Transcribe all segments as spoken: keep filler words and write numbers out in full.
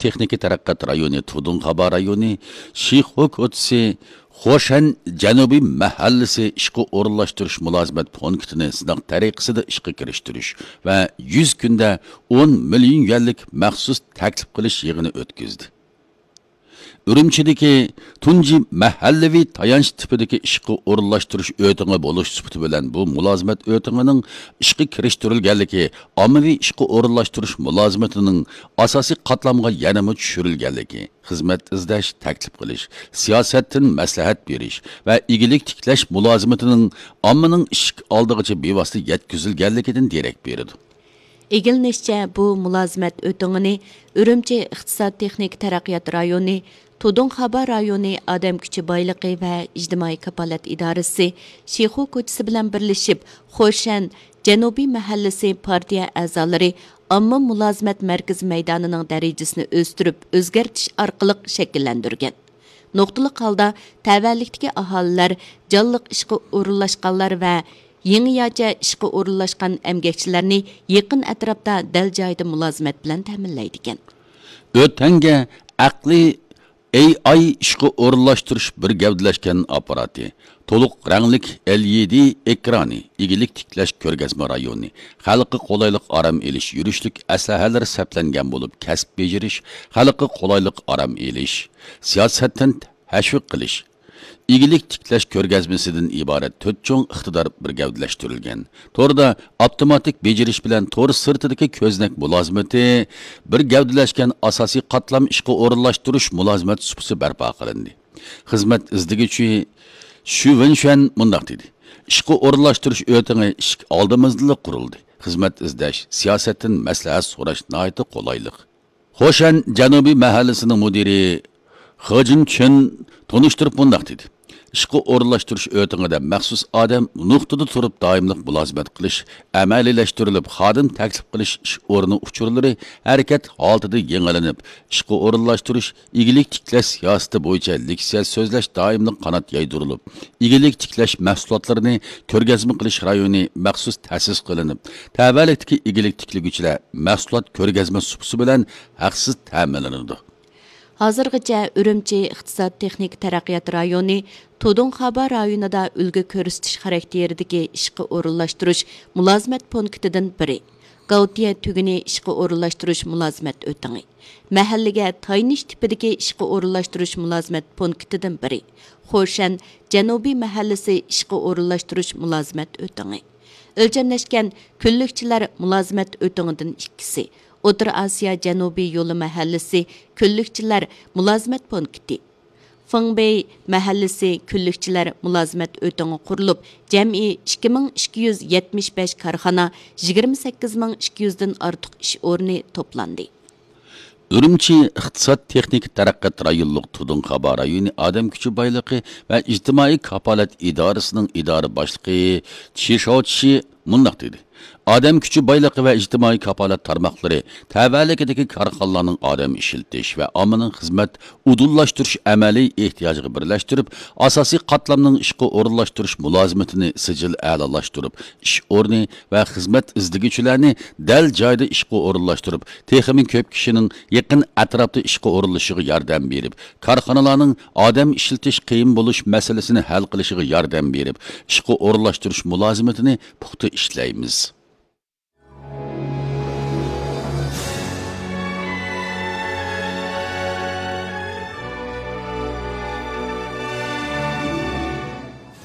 تېخنىكا تەرەققىيات رايونى تۇدۇڭخابا رايونى شىخۇ كوچىسى خوشەن جەنۇبىي مەھەللىسى ئىشقا ئورۇنلاشتۇرۇش مۇلازىمەت پونكىتىنى سىناق تەرىقىسىدە ئىشقا كىرىشتۈرۈش ۋە يۈز كۈندە ئون مىليون يۈەنلىك مەخسۇس تەكلىپ قىلىش يىغىنى ئۆتكۈزدى. ئۈرۈمچىدىكى تۇنجى مەھەللىۋى تايانچ تىپىدىكى ئىشقا ئورۇنلاشتۇرۇش ئۆتىڭى بولۇش سۈپىتى بىلەن بۇ مۇلازىمەت ئۆتىڭىنىڭ ئىشقا كىرىشتۈرۈلگەنلىكى ئاممىۋى ئىشقا ئورۇنلاشتۇرۇش مۇلازىمىتىنىڭ ئاساسىي قاتلامغا يەنىمۇ چۈشۈرۈلگەنلىكى، خىزمەت ئىزدەش، تەكلىپ قىلىش، سىياسەتتىن مەسلىھەت بېرىش ۋە ئىگىلىك تىكلەش مۇلازىمىتىنىڭ ئاممىنىڭ ئىشىك ئالدىغىچە بىۋاسىتە يەتكۈزۈلگەنلىكىدىن دېرەك بېرىدۇ. ئىگىلىنىشىچە، بۇ مۇلازىمەت ئۆتىڭىنى ئۈرۈمچى ئىقتىساد تېخنىكا تەرەققىيات رايونى، تۇدۇڭخابا رايونى ئادەم كۈچى بايلىقى ۋە ئىجتىمائىي كاپالەت ئىدارىسى شىخۇ كوچىسى بىلەن بىرلىشىپ، خوشەن جەنۇبىي مەھەللىسى پارتىيە ئەزالىرى ئامما مۇلازىمەت مەركىزى مەيدانىنىڭ دەرىجىسىنى ئۆستۈرۈپ ئۆزگەرتىش ئارقىلىق شەكىللەندۈرگەن. نۇقتىلىق ھالدا تەۋەلىكتىكى ئاھالىلەر، جانلىق ئىشقا ئورۇنلاشقانلار ۋە يېڭىچە ئىشقا ئورۇنلاشقان ئەمگەكچىلەرنى يېقىن ئەتراپتا دەل جايىدا مۇلازىمەت بىلەن تەمىنلەيدىكەن. ئۆتەڭگە ئەقلىي ئېي ئاي ئىشقا ئورۇنلاشتۇرۇش بىر گەۋدىلەشكەن ئاپپاراتى، تولۇق رەڭلىك ئېل ئى دى ئېكرانى، ئىگىلىك تىكلەش كۆرگەزمە رايونى، خەلققە قولايلىق ئارام ئېلىش يۈرۈشلۈك ئەسلىھەلىرى سەپلەنگەن بولۇپ، كەسىپ بېجىرىش، خەلققە قولايلىق ئارام ئېلىش، سىياسەتتىن تەشۋىق قىلىش، ئىگىلىك تىكلەش كۆرگەزمىسىدىن ئىبارەت تۆت چوڭ ئىقتىدار بىر گەۋدىلەشتۈرۈلگەن. توردا ئاپتوماتىك بېجىرىش بىلەن تور سىرتىدىكى كۆزنەك مۇلازىمىتى بىر گەۋدىلەشكەن ئاساسىي قاتلام ئىشقا ئورۇنلاشتۇرۇش مۇلازىمەت سۇپىسى بەرپا قىلىندى. خىزمەت ئىزدىگۈچى شۈ ۋېنشۈەن مۇنداق دېدى: «ئىشقا ئورۇنلاشتۇرۇش ئۆتىڭى ئىشىك ئالدىمىزدىلا قۇرۇلدى. خىزمەت ئىزدەش، سىياسەتتىن مەسلىھەت سوراش ناھايىتى قولايلىق.» خوشەن جەنۇبىي مەھەللىسىنىڭ مۇدىرى خېجىن چېن تونۇشتۇرۇپ مۇنداق دېدى: «ئىشقا ئورۇنلاشتۇرۇش ئۆتىڭىدە مەخسۇس ئادەم نۇقتىدا تۇرۇپ دائىملىق مۇلازىمەت قىلىش، ئەمەلىيلەشتۈرۈلۈپ، خادىم تەكلىپ قىلىش ئىش ئورنى ئۇچۇرلىرى ھەرىكەت ھالىتىدە يېڭىلىنىپ، ئىشقا ئورۇنلاشتۇرۇش، ئىگىلىك تىكلەش سىياسىتى بويىچە لېكسىيە سۆزلەش دائىملىق قانات يايدۇرۇلۇپ، ئىگىلىك تىكلەش مەھسۇلاتلىرىنى كۆرگەزمە قىلىش رايونى مەخسۇس تەسىس قىلىنىپ، تەۋەلىكتىكى ئىگىلىك تىكلىگۈچىلەر مەھسۇلات كۆرگەزمە سۇپىسى بىلەن ھەقسىز تەمىنلىنىدۇ.» ھازىرغىچە ئۈرۈمچى ئىقتىساد تېخنىكا تەرەققىيات رايونى تۇدۇڭخابا رايونىدا ئۈلگە كۆرسىتىش خاراكتېرىدىكى ئىشقا ئورۇنلاشتۇرۇش مۇلازىمەت پونكىتىدىن بىرى، گاۋتىيە تۈگۈنى ئىشقا ئورۇنلاشتۇرۇش مۇلازىمەت ئۆتىڭى، مەھەللىگە تايىنىش تىپىدىكى ئىشقا ئورۇنلاشتۇرۇش مۇلازىمەت پونكىتىدىن بىرى، خوشەن جەنۇبىي مەھەللىسى ئىشقا ئورۇنلاشتۇرۇش مۇلازىمەت ئۆتىڭى، ئۆلچەملەشكەن كۈنلۈكچىلەر مۇلازىمەت ئۆتىڭىدىن ئىككىسى، ئوتتۇرا ئاسىيا جەنۇبىي يولى مەھەللىسى كۈنلۈكچىلەر مۇلازىمەت پونكىتى، فېڭبېي مەھەللىسى كۈنلۈكچىلەر مۇلازىمەت ئۆتىڭى قۇرۇلۇپ، جەمئىي ئىككى مىڭ ئىككى يۈز يەتمىش بەش كارخانا، يىگىرمە سەككىز مىڭ ئىككى يۈزدىن ئارتۇق ئىش ئورنى توپلاندى. ئۈرۈمچى ئىقتىساد تېخنىكا تەرەققىيات رايونلۇق تۇدۇڭخابا رايونى ئادەم كۈچى بايلىقى ۋە ئىجتىمائىي كاپالەت ئىدارىسىنىڭ ئىدارە باشلىقى چى شاۋچى مۇنداق دېدى: «ئادەم كۈچى بايلىقى ۋە ئىجتىمائىي كاپالەت تارماقلىرى تەۋەلىكىدىكى كارخانىلارنىڭ ئادەم ئىشلىتىش ۋە ئاممىنىڭ خىزمەت ئۇدۇللاشتۇرۇش ئەمەلىي ئېھتىياجىغا بىرلەشتۈرۈپ، ئاساسىي قاتلامنىڭ ئىشقا ئورۇنلاشتۇرۇش مۇلازىمىتىنى سىجىل ئەلالاشتۇرۇپ، ئىش ئورنى ۋە خىزمەت ئىزدىگۈچىلەرنى دەل جايىدا ئىشقا ئورۇنلاشتۇرۇپ، تېخىمۇ كۆپ كىشىنىڭ يېقىن ئەتراپتا ئىشقا ئورۇنلىشىشىغا ياردەم بېرىپ، كارخانىلارنىڭ ئادەم ئىشلىتىش قىيىن بولۇش مەسىلىسىنى ھەل قىلىشىغا ياردەم بېرىپ، ئىشقا ئورۇنلاشتۇرۇش مۇلازىمىتىنى پۇختا ئىشلەيمىز.»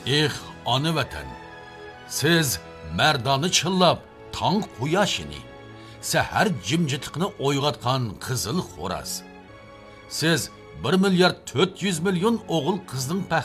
ئېھ، ئانا ۋەتەن! سىز مەردانە چىللاپ تاڭ قۇياشىنى، سەھەر جىمجىتلىقىنى ئويغاتقان قىزىل خوراز. سىز بىر مىليارد تۆت يۈز مىليون ئوغۇل-قىزنىڭ پەخرى.